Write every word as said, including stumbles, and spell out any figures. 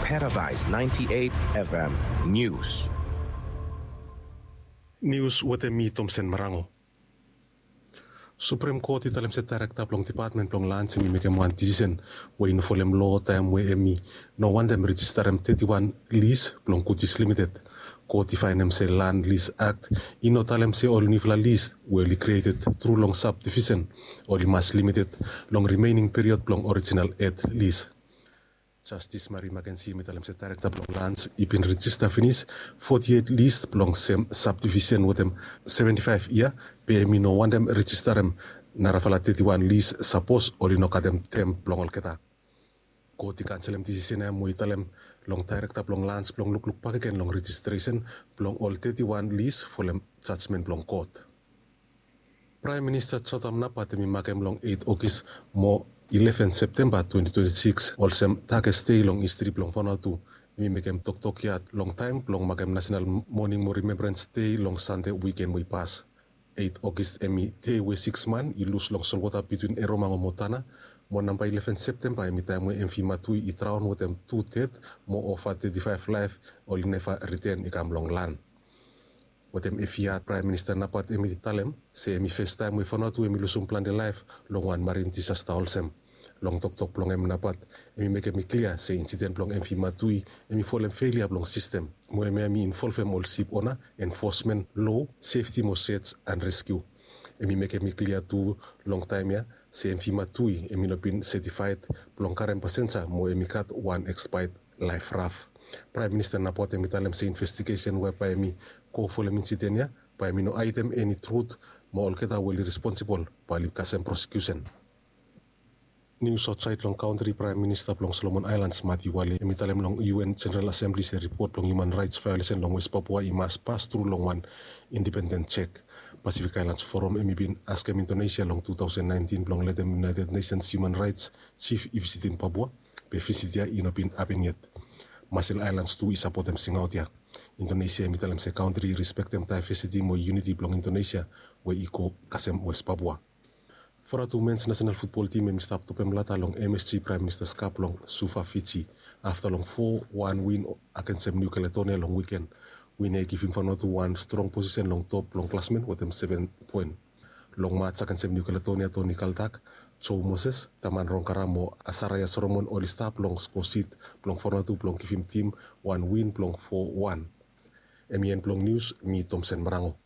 Paradise ninety-eight F M News. Nius wetem mi Tomsen Marango. Suprem Kot i talem se daerekta blong depatmen blong lans hem i mekem wan disisen we i no folem loa taem we hem i no wantem rejistarem teti wan lis blong Kutis Limited. Kot i faenem se Land Lease Act i no talem se ol niufala lis we oli krieted tru long sabdivisen oli mas limited long rimening period blong orijinal et lis. Jastis Mari Makensi hem i talem se daerekta blong lans i bin rejista finis foti eit lis blong sem sabdivisen wetem seventi faef yia, be hem i no wantem rejistarem narafala teti wan lis sapos oli no katem tem blong olgeta. Kot i kanselem disisen ya mo i talem long daerekta blong lans blong lukluk bakegen long rejistresen blong ol teti wan lis folem jajmen blong kot. Praem Minista Jotam Napat hem i makem long eit Ogis mo ileven Septemba twenti twenti sikis olsem dakes dei long histri blong Vanuatu. Hem i mekem toktok ya long taem blong makem Nasenal Moning mo Rimembrans Dei long Sande wiken we i pas. Eit Ogis hem i dei we sikis man i lus long solwota bitwin Eromango mo Tana, mo namba ileven Septemba hem i taem we M V Matui i draon wetem tu ded mo ova teti faef laef oli neva riten i kam long lan. Wetem efi yad Praem Minista Napat hem i talem se hem i festaem we Vanuatu hem i lusum plante laef long wan marin disasta olsem. Long toktok blong hem Napat hem i mekem i klia se insiden blong M V Matui hem i folem felia blong sistem mo hemia hem i involvem ol sip ona, enfosmen, loa, sefti mo search and rescue. Hem i mekem i klia tu long taem ya se M V Matui hem i no bin setifaed blong karem pasenja mo hem i gat wan expired life raft. Praem Minista Napat hem i talem se investigesen we bae hem i go folem insiden ya bae hem i no aedem eni trut mo olgeta we oli responsibol bae oli kasem prosekiusen. Nius aotsaed long kantri, Praem Minista blong Solomon Aelans, Mati Wale, hem i talem long U N Jeneral Asembli se ripot blong hiuman raets vaeolesen long West Papua i mas pas tru long wan independen jek. Pasifik Aelans Foram hem i bin askem Indonesia long tu taosen naentin blong letem United Nations Human Rights Chief i visitim Papua, be visit ya i no bin hapen yet. Masel Aelans tu i sapotem singaot ya. Indonesia hem i talem se kantri i respektem daevesiti mo yuniti blong Indonesia we i go kasem West Papua. Vanuatu mens nasenal futbol tim hem i stap topem lata long M S G Praem Minista's Cup long Suva, Fiji, afta long fo wan win agensem Niu Kaledonia long wiken. Win ya i givim Vanuatu wan strong posisen long top blong klasmen wetem seven poen. Long mats agensem Niu Kaledonia, Toni Kaltak, Joe Moses, Taman Rongkara mo Asaraya Solomon oli stap long skosit blong Vanuatu blong givim tim wan win blong fo wan. Hem i en blong nius, mi Tomsen Marango.